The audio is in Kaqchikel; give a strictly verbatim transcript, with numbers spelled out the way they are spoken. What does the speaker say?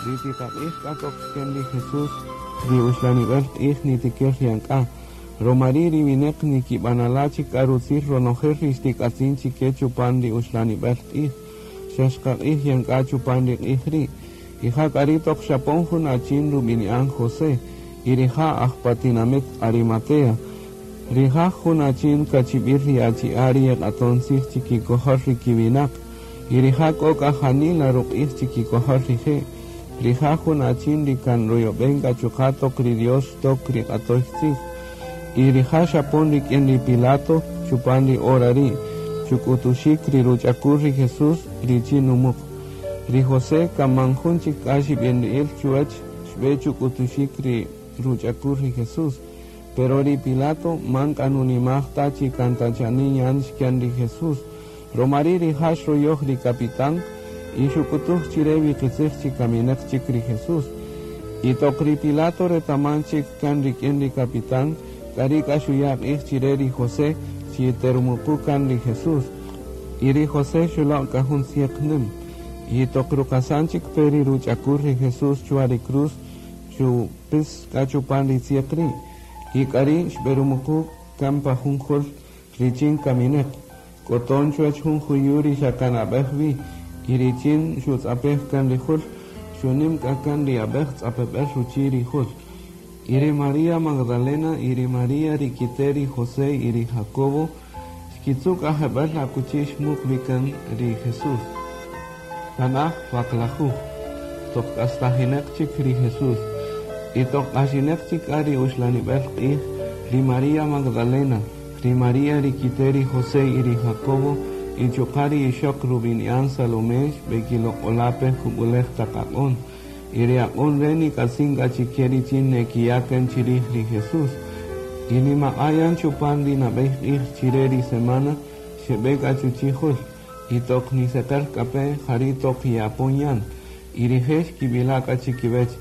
Ri tiqaq'ij k'a toq xken ri Jesús, ri uxlanibel q'ij nitiker yan k'a. Roma ri' ri wineq nikibanala' chik k'a rutzil ronojel ri xtik'atzin chike chupan ri uxlanibel q'ij. Xa xqaq'ij yan k'a chupan ri q'ij ri'. Y ja k'a ri' toq xapon jun achin rubini'an José, y rija' aj pa tinamit Arimatea. Rija' jun achin kachib'il ri achi'a' ri yeq'aton tzij chikikojol ri kiwinaq. Y rija' k'o k'a janila ruq'ij chikikojol rije'. Rija' jun achin ri kan ruyob'en k'a chuqa' toq ri Dios xtok ri q'atoy tzij. Y rija' xapon rik'in ri Pilato chupan ri hora ri', chuk'utuxik ri ruch'akul ri Jesús richin numuq. Ri José kan man jun chik k'a xib'inri'il chuwäch xb'e chuk'utuxik ri ruch'akul ri Jesús. Pero ri Pilato man k'a nunimaj ta chi kan ta chanin yan xken ri Jesús. Roma ri' rija' xroyoj ri capitán y xuk'utuj chire wi qitzij chi kaminaq chik ri Jesús. Y toq ri Pilato retaman chik kan rik'in ri capitán, k'ari' k'a xuya' q'ij chire ri José chi terumuqu kan ri Jesús. Y ri José xuloq' k'a jun tzieq nim. Y toq ruqasan chik pe ri ruch'akul ri Jesús chwa ri cruz, xupis k'a chupan ri tzieq ri'. Y k'ari' xb'erumuqu kan pa jun jul richin kamineq. K'oton chuwäch jun juyu' ri xa kan ab'ej wi, y richin xutz'apej kan ri jul, xunim k'a kan ri ab'ej tz'apeb'el ruchi' ri jul. Y ri María Magdalena y ri María ri kite' ri José y ri Jacobo xkitzu' k'a jeb'ël akuchi xmuq wi kan ri Jesús. Tanaj waqlajuj, toq k'astajinaq chik ri Jesús. Y toq q'axinaq chik k'a ri uxlanib'el q'ij, ri María Magdalena, ri María ri kite' ri José y ri Jacobo, y chuqa' ri ixoq rub'ini'an Salomé xb'ekiloq'ola' pe jub'ulej taq aq'on. Y ri aq'on re' nik'atzin k'a chike richin nekiya' kan chirij ri Jesús. Y nimaq'a' yan chupan ri nab'ey q'ij chire ri semana, xeb'e k'a chuchi' jul. Y toq niseqer k'a pe, jari' toq ye'apon yan. Y rije' xkib'ila' k'a chikiwech: